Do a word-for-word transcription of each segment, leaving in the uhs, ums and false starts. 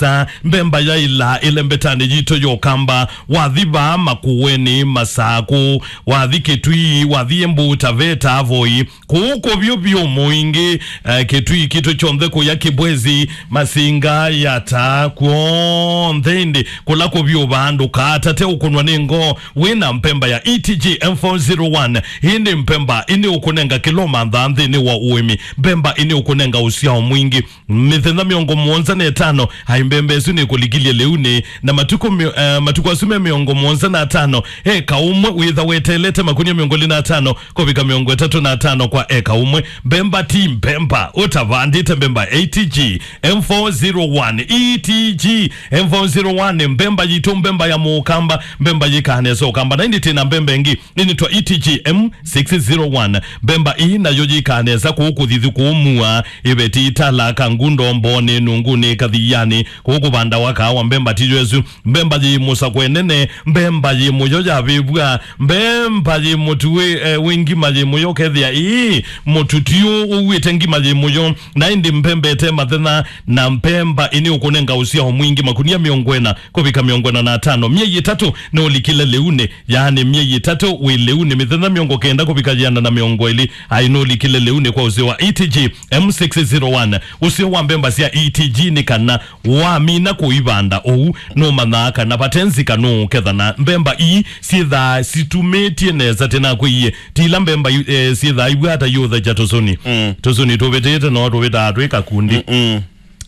Sa, mbemba yaĩla ĩlembetanĩ yitũ ya Ũkamba, wathi vaa Makueni, Masaku, wathi Kĩtui, wathi Embu, Taveta, Voi, kũu kũvyũ vyũ Mũingĩ, eh, Kĩtui kitũ kyonthe kũya Kĩbwezi, Masinga, Yata, kw'onthe ĩndĩ kũla kũvyũ vaa ndũkatate ũkũnwa nĩ ngoo wĩ na mbemba ya E T G M four zero one. Ĩndĩ mbemba ĩnĩ ũkũnenga kĩla ũmanthaa nthĩnĩ wa ũĩmi. Mbemba ĩnĩ ũkũnenga ũsyao mwingĩ. Mĩthenya mĩongo mũonza na ĩtano, ai mbemba ĩsu nĩkũlikilye lĩunĩ, na matukũ mĩ-, eh, matukũ asu me mĩongo mũonza na atano, eka ũmwe wĩtha weteelete makunia mĩongo ĩlĩ na atano kũvika mĩongo ĩtatũ na atano kwa eka ũmwe. Mbemba ti mbemba, ũtavandĩte mbemba A T G M four zero one, E T G M four zero one, mbemba yitũ, mbemba ya Mũkamba, mbemba yĩkaa nesa Ũkamba. Na ĩndĩ twĩ na mbemba ĩngĩ, ĩnĩtwa E T G M six zero one. Mbemba ii nayo yĩkaa nesa kũu kũthithu kũu mua, ĩveti, Itala, Kangundo, Mboni, Nunguni, Kathiani, kũu kũvandawa kaawa. Mbemba tiyo ĩsu. Mbemba yĩ mũsakwe nene, mbemba yĩ mũyo yavĩvw'a, mbemba yĩ mũtu wĩ, eh, wĩ ngima yĩ mũyo kethĩa ii mũtu ti ũ-, ũuĩte ngima yĩ mũyo. Na ĩndĩ mbemba ĩte mathenya, na mbemba ĩnĩ ũkũnenga ũsyao mwingĩ, makunia mĩongo ĩna kũvika mĩongo ĩna na atano. Myei ĩtatũ nũlikile lĩunĩ, yaani myei ĩtatũ wĩ lĩunĩ, mĩthenya mĩongo kenda kũvika yĩana na mĩongo ĩlĩ, ai nũlikile lĩunĩ kwa ũseo wa E T G M six zero one. Ũseo wa mbemba sya E T G nĩ kana wamina kũivanda ũu, nũmanyaa kana vate nzika nũũketha. Na mbemba ii syĩthaa situmĩtye nesa, tena kwĩie, ti ila mbemba i-, eh, syĩthaa iw'ata yũthekya tũsũni. Mm. Tũsũni tũvĩtĩte no tũvĩtaa twĩ kakundi. Mm-mm.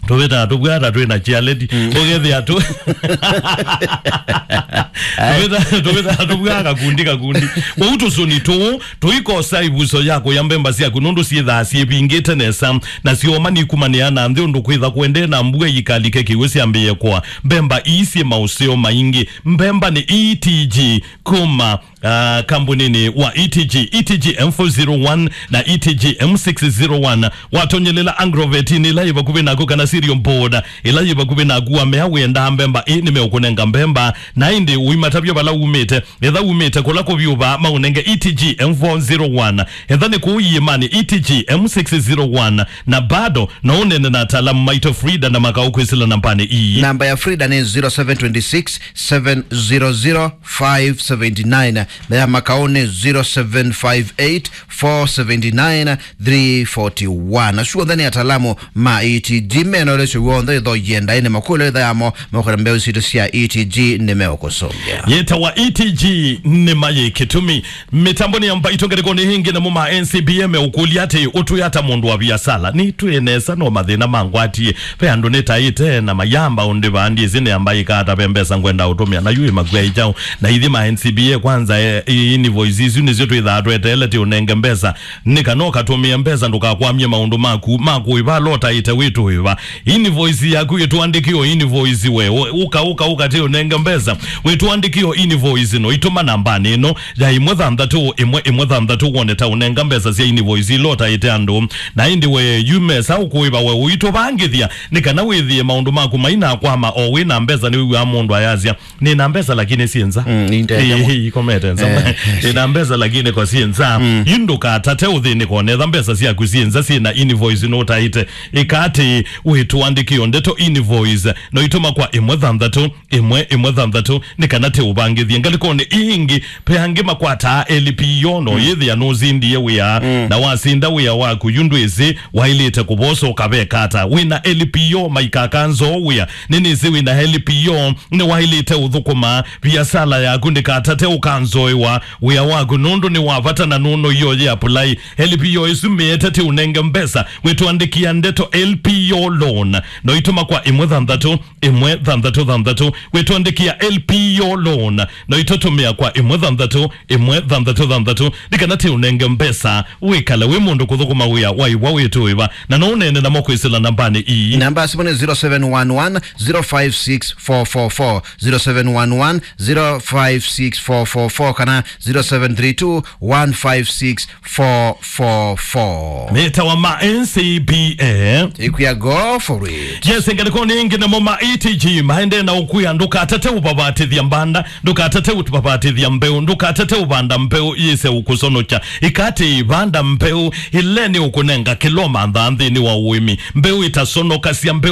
Tũvĩtaa tũvwata twĩ na chialeti. Mm. Ũkethĩa tũ-, tũvĩta-, tũvĩtaa tũvwaa kakundi, kakundi. Kwoou tũsũni tũũ tũikosa ĩvuso ya kũya mbemba syaku, nũndũ syĩthaa syĩvingĩte nesa, na syoma nikumanĩa na nthĩ ũndũ kwĩtha kũendee na mbua ikalike kĩw'ũ syambĩĩe kũa. Mbemba ii syĩ maũseo maingĩ. Mbemba nĩ E T G kuma, ah, kambuninĩ wa E T G, E T G M four zero one na E T G M six zero one. Watonyelela agrovetinĩ ĩla yĩ vakuvĩ naku kana cereal board ĩla yĩ vakuvĩ naku, wamea wĩendaa mbemba ĩ, nĩmeũkũnenga mbemba, na ĩndĩ ũimatavya vala umĩte. Etha umĩte kũla kũvyũ vaa, maũnenge E T G M four zero one. Etha nĩ kũu iĩmanĩ, E T G M six zero one. Na bado no ũnene na ataalamu maitũ Frida na Makau kwĩsĩla nambanĩ ii. Namba ya Frida nĩ zero seven twenty six, seven zero zero, five seventy nine, na ya Makau nĩ zero seven five eight, four seventy nine, three forty one. Asu onthe nĩ ataalamu ma E T G, mena ũlesyo w'onthe ĩtho yĩendae nĩ makũlyo ĩtha yamo, mekũna mbeũ sitũ sya E T G nĩmeũkũsũngĩa. Yĩtawa E T G nĩ mayĩ kĩtumi. Mĩtambonĩ ya mbaitũ ngalĩkonĩ ĩngĩ, namo ma N C B A meũkũlya atĩ, ũtwĩ ata mũndũ wa viasala? Nĩtwĩ nesa no mathĩna mangwatie. Ve andũ nĩtaĩte na mayamba ũndĩ vaa, ndyĩsĩ nĩamba ĩka ata, ve mbesa ngwenda ũtũmĩa, na yu ĩmakw'a ĩ kyaũ? Na ithyĩ ma N C B A kwanza, e, i-, invoice isu nĩsyo twĩthaa tweteele ti ũnenge mbesa. Nĩ kana ũkatũmĩe mbesa, ndũkakwamie maũndũ maku ma kũĩva ala ũtaĩte wĩtũĩva. Invoice yaku ĩtũandĩkĩo invoice we. Ũ-, ũka, ũka, ũka ti ũnenge mbesa. Wĩtũandĩkĩo invoice no itũma nambanĩ ĩno ya ĩmwe thanthatũ ĩmwe ĩmwe thanthatũ, wone ta ũnenga mbesa sya invoice ila ũtaĩte andũ. Na ĩndĩ we yu mesa ũkũĩva we ũitũvangĩthya, nĩ kana wĩthĩe maũndũ maku mainakwama o wĩ na mbesa. Nĩwĩw'aa mũndũ ayasya, "Nĩ na mbesa lakini syĩ nza." Mm, nĩ ndeya. Ĩ, ĩ, ikomete nza. Eh, eh. "Nĩ na mbesa lakini ko syĩ nza." Mm. Yu ndũkatate ũthĩnĩko, netha mbesa syaku syĩ nza, syĩ na invoice nũtaĩte. Ĩka atĩ wĩtũandĩkĩo ndeto invoice, no itũma kwa ĩmwe thanthatũ ĩmwe ĩmwe thanthatũ, nĩ kana tĩ ũvangĩthye. Ngalĩkonĩ ii ingĩ, ve angĩ makwataa L P O, no yĩthĩa nũsindie wĩa, na wasinda wĩa waku, yu ndwĩsĩ waĩlĩte kũvosa ũkaveka ata. Wĩ na L P O, maikaka nzoo wĩa. Nĩnĩsĩ wĩ na L P O, nĩwaĩlĩte ũthũkũma. Viasala yaku ndĩkatate ũkanzoewa wĩa waku, nũndũ nĩ wa vata na nũno ioye apply. L P O ĩsu mĩete tĩ ũnenge mbesa, wĩtũandĩkĩa ndeto L P O loan, no itũma kwa ĩmwe thanthatũ ĩmwe thanthatũ thanthatũ, wĩtũandĩkĩa L P O loan, no itũtũmĩa kwa ĩmwe thanthatũ ĩmwe thanthatũ thanthatũ, nĩ kana tĩ ũnenge mbesa, wĩkale wĩ mũndũ kũthũkũma wĩa waĩwa wĩtũĩva, na no ũneene namo kwĩsĩla nambanĩ ii. Namba ya simũ nĩ zero seven one one, zero five six four four four, zero seven one one, zero five six four four four, kana zero seven three two, one five six four four four. Mĩtawa ma N C B A. Ĩkwĩa go for it. Yes, ngalĩkonĩ ĩngĩ namo ma E T G maendee na ũkwĩa, ndũkatate ũvavatĩthya mbanda, ndũkatate ũvavatĩthya mbeũ, ndũkatate ũvanda mbeũ yĩse ũkũsonokya. Ĩka atĩ vanda mbeũ ĩla nĩ ũkũnenga kĩla ũmanthaa nthĩnĩ wa ũĩmi. Mbeũ ĩtasonokasya, mbeũ